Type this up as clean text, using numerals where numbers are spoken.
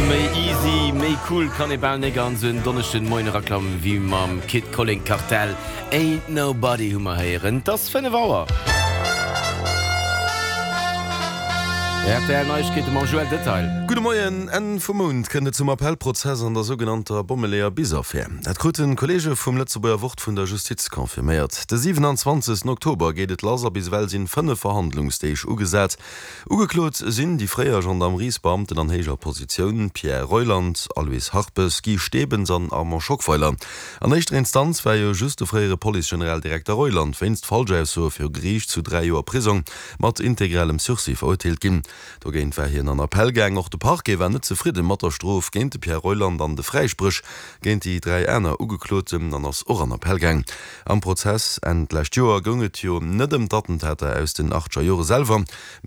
Méi easy, méi cool kann ee bal nek an sou en Donneschden Moien eraklammen wéi mam Kid Colling Kartell. Ain't Nobody hu mer héieren. 't ass 5 Auer. Rtl Neiegkeete mam Joël Detail. Gudde Moien. Enn vum Mount kënnt et zum Appellprozess an der sougenannter Bommeleeër-Bis-Affär. Dat kruten d'Kolleege vum Lëtzebuerger Wort vun der Justiz confirméiert. De 27 Oktober geet et lass a bis ewell sinn 5 Verhandlungsdeeg ugesat. Ugeklot sinn déi fréier Gendarmeriesbeamten an héijer Positioun Pierre Reuland, Aloyse Harpes, Guy Stebens an Armand Schockweiler. An éischter Instanz war jo just de fréiere Police-Generaldirekter Reuland wéinst Falschaussoe viru Geriicht zu 3 Joer Prisong mat integralem Sursis verurteelt ginn. Dogéint war hien an Appell gaang. Och de Parquet war net zefridde mat der Strof géint de Pierre Reuland an de Fräispréch géint déi 3 aner Ugekloten an ass och an Appell gaang. Am Prozess Enn d'lescht Joer goung et jo net ëm d'Attentater aus den achtger Jore selwer.